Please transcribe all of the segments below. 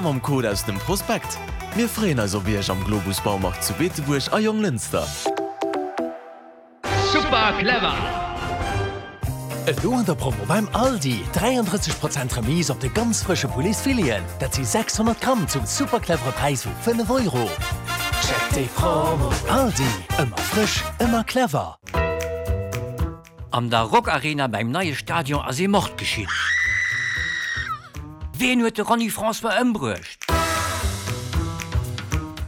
Mam Code aus dem Prospekt. Mir freeën eis op Iech am Globus Baumarkt zu Beetebuerg a Jonglënster. Super clever! Elo an der Promo beim Aldi, 33 Prozent Remise op de ganz frësche Pouletsfileten, dat si 600 Gramm zum super clevere Präis vu 5 Euro. Check déi Promo! Aldi, ëmmer frësch, ëmmer clever! An der Rockarena beim neie Stadion ass ee Mord geschitt. Ween huet de Ronny François ëmbruecht?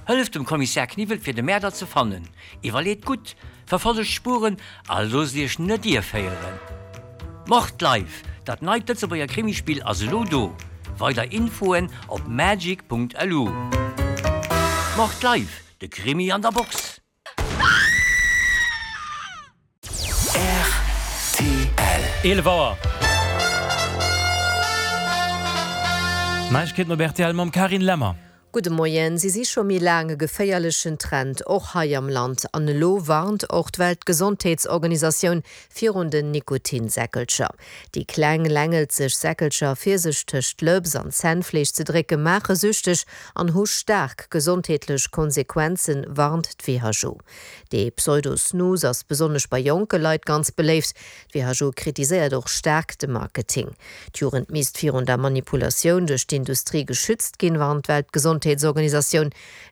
Hëlleft dem Kommissär Kniwwel fir de Mäerder ze fannen. Iwwerleet gutt, verfollegt d'Spuren a loosst iech net ierféieren. Mord Live, dat neit Lëtzebuerger Krimispill ass elo do. Weider Infoen op magic.lu. Mord Live, de Krimi an der Box! Rtl. 11 Auer. Neiegkeeten op rtl mam Carine Lemmer. Gudde Moien. Si si scho méi laang e geféierlechen Trend, och hei am Land. An elo warnt och d'Weltgesondheetsorganisatioun virun den Nikotinsäckelcher. Déi kleng, längelzeg Säckelcher, fir sech tëscht d'Lëps an d'Zännfleesch ze drécke, maache süchteg an hu staark gesondheetlech Konsequenzen, warnt d'WHO. Dee Pseudo-Snus ass besonnesch bei jonke Leit ganz beléift. D'WHO kritiséiert och staark de Marketing. D'Jugend misst virun der Manipulatioun duerch d'Industrie geschützt ginn, warnt d'Weltgesondheetsorganisatioun.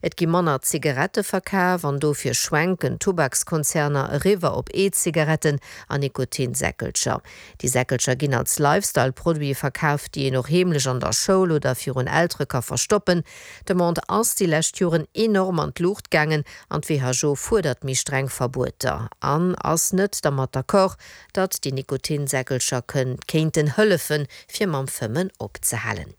Et gi manner Zigarette verkaf an dofir schwenken d'Tubakskonzerner eriwwer op E-Zigaretten an Nikotinsäckelcher. Déi Säckelcher ginn als Lifestyle-Produite verkaf, déi een och heemlech an der Schoul oder virun Eltere ka verstoppen. D'Demande ass déi lescht Joren enorm an d'Luucht gaangen an d'WHO fuerdert méi streng Verbueter an ass net dermat d'accord, datt déi Nikotinsäckelcher kéinten hëllefen, fir mam Fëmmen opzehalen.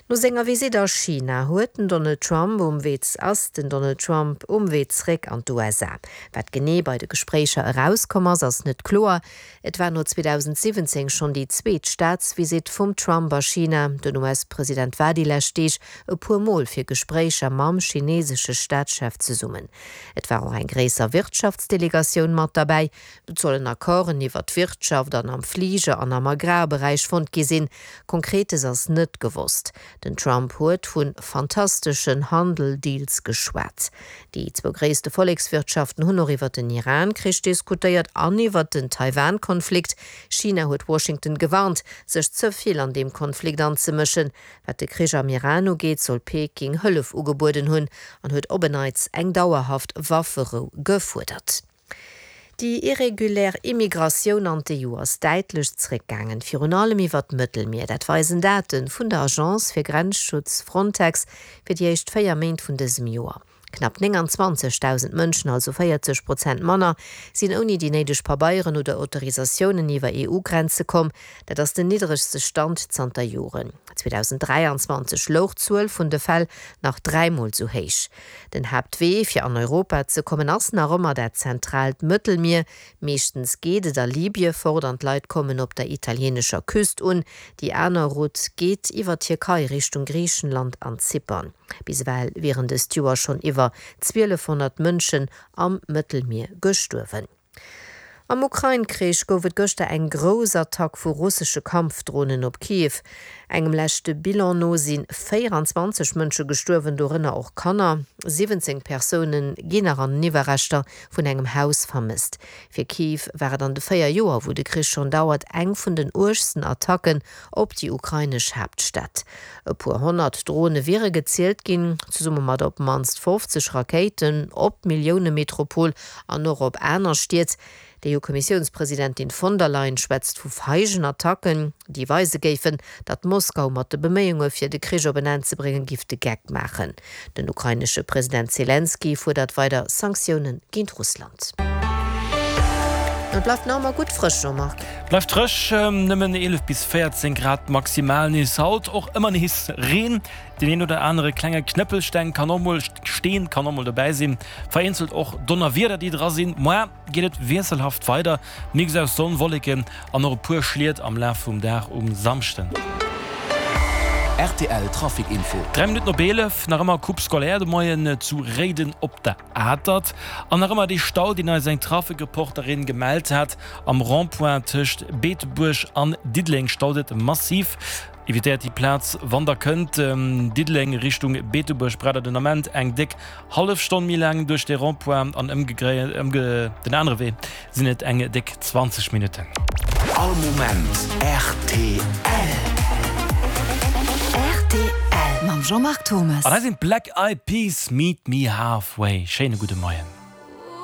No senger Visitt a China huet den Donald Trump um Wee ass den Donald Trump um Wee zréck an d'USA. Wat genee bei de Gespréicher erauskomm ass, ass net kloer. Et war no 2017 schonn déi zweet Staatsvisitt vum Trump a China. Den US-President war déi lescht Deeg e puer Mol fir Gespréicher mam chinesesche Staatschef zesummen. Et war och eng gréisser Wirtschaftsdelegatioun mat derbäi. Et sollen Accorden iwwer d'Wirtschaft an am Fliger an am Agrarberäich fonnt gi sinn. Konkretes ass net gewosst. Den Trump huet vu fantasteschen Handel-Deals geschwat. Déi zwou gréisste Vollekswirtschaften hunn och iwwer den Iran-Krich diskutéiert an iwwer den Taiwan-Konflikt. China huet Washington gewarnt, sech ze vill an deem Konflikt anzemëschen. Wat de Krich am Iran ugeet, soll Peking Hëllef ugebueden hunn an huet op en Neits eng dauerhaft Wafferou gefuerdert. Déi irregulär Immigratioun an d'EU ass däitlech zréckgaangen, virun allem iwwer d'Mëttelmier. Dat weisen Date vun der Agence fir Grenzschutz Frontex fir déi éischt 4 Méint vun dësem Joer. Knapp 29.000 Mënschen, also 40 Prozent manner, sinn ouni déi néideg Pabeieren oder Autorisatiounen iwwer EU-Grenze komm. Dat ass den niddregste Stand zanter Joren. 2023 louch d'Zuel vun de Fäll nach dräimol sou héich. Den Haaptwee fir an Europa ze kommen ass nach ëmmer dat zentraalt Mëttelmier. Meeschtens geet et a Libye fort an d'Leit kommen op der italienescher Küst un. Déi aner Route geet iwwer d'Tierkei Richtung Griichenland an Zypern. Bis ewell wieren dëst Joer schonn iwwer 1.200 Mënschen am Mëttelmier gestuerwen. Am Ukrain-Krich gouf et gëschter eng grouss Attack vu russesche Kampfdronen op Kiew. Engem leschte Bilan no si 24 Mënsche gestuerwen, dorënner och Kanner. 17 Persoune ginn nach an den Iwwerreschter vun engem Haus vermësst. Fir Kiew war et an de 4 Joer, wou de Krich schonn dauert, eng vun den uergsten Attacken op déi ukrainesch Haaptstad. E puer 100 Drone wiere gezielt ginn, zesumme mat op d'mannst 50 Rakéiten op d'Milliounemetropol an och op aner Stied. D'EU-Kommissiounspresidentin von der Leyen schwätzt vu feigen Attacken, déi weise géifen, datt Moskau mat de Beméiunge fir de Krich op en Enn ze bréngen, giff de Geck maachen. Den ukrainesche President Selenskyj fuerdert weider Sanktioune géint Russland. Et bleift nach ëmmer gutt frësch, Jean-Marc. Bleift frësch, nëmmen 11 bis 14 Grad maximal nees haut. Och ëmmer nees Reen, deen een oder anere klenge Knëppelsteng kann och mol Steen kann och mol dobäi sinn. Vereenzelt och Donnerwieder déi dra sinn. Moar geet et wiesselhaft weider, Mix aus Sonn, Wolleken an och e puer Schliet am Laf vum Dag um Samschden. Rtl Trafic Info. 3 Minutten op 11, nach ëmmer Coupe scolaire de Moien zu Réiden op der Atert. An nach ëmmer dee Stau, deen eis eng Trafic-Reporterin gemellt hat. Am Rond-point tëscht Beetebuerg an Diddeleng staut et massiv. Evitéiert déi Plaz wann der kënnt. Diddeleng Richtung Beetebuerg braucht der den Ament eng déck hallef Stonn méi laang duerch de Rond-point an ëmgedréint den anere Wee sinn et eng déck 20 Minutten. All Moment rtl. Rtl mam Jean-Marc Thomas. An hei sinn d'Black Eyed Peas, Meet Me Halfway. Schéine gudde Moien.